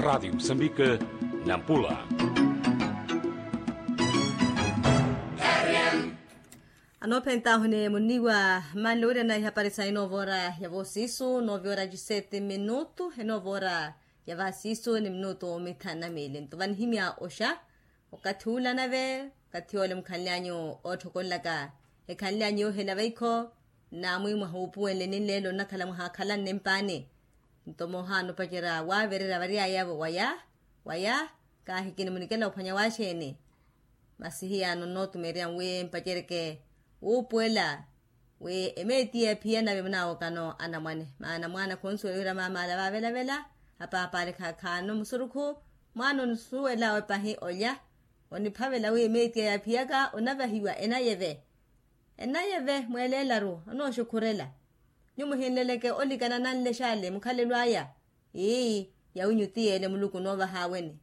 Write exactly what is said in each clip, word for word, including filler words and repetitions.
Radiyo musambika, nampula. Anoophentahu ni munniwa manle wira na ihapari sayi noova ora ya voosiisu noova ora ya sete minutu enoova ora ya vaasiisu ni minutu mithanu na miili nto vanihimya oxa. Okathi ula nave okathi ole mukhanlyanyu oothokolelaka ekhanlyanyu yoohela vaikho. Namwi mwahuupuwenle ninleelo nnakhala mwahaakhala nnimpaani. Nto moohaana opacerya waavererya variyayavo waya waya. Kaahikini munikela ophwanya waaxeeni? Masi hiyaano nnootumeerya wi mpaceryeke wuupuwela wi emeetiya ephiya nave munawokano anamwane maana mwaana khunsuwela wira maamaala vaavelavela. Apaapale khaakhaano musurukhu mwaana onisuwela wepahi olya. Oniphavela wi emeetiya yaaphiyaka onavahiwa enayeve. Enayeve mweeleelaru onooxukhurela. Nyuwo muhinleleke olikana nanle xaale mukhalelo aya. Ii, yawinyu ti yeele muluku noovahaaweni.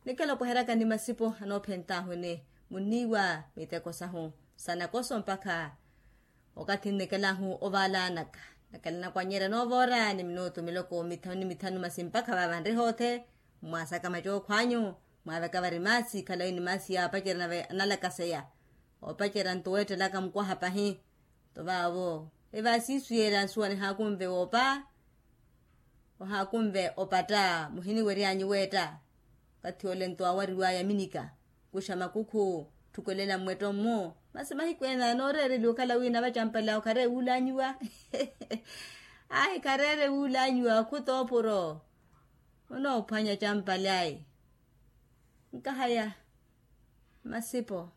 Nikela opweheryaka ni masipo anoophentaahu ni munniiwa miteko sahu sanakoso mpakha okathi nnikelahu ovaala anaka. Nakela nakwannyerya noova ora ni minutu miloko mithanu ni mithanu masi mpakha vaava nrihoothe. Mwaasaka macookhwanyu mwaaveka vari maasi khalawi ni maasi ya apacerya nave analakaseya. Opacerya nto weettelaka mukwaha pahi. Nto vaavo evaasiisu yeela nsuwa nihaakunve woopa. Ohaakunve opatta muhiniweryanyu weetta. Okathi ole nto awariwaya minika kuxa makukhu. Tthukelela mmwetto mmu masi mahiku ena nooreereliwa okhala wi navacampale awo khareewe wuulanyiwa. Ahi khareere wuulanyiwa okhuta opuro. Onoophwanya campale ayi. Nkahaya. Masipo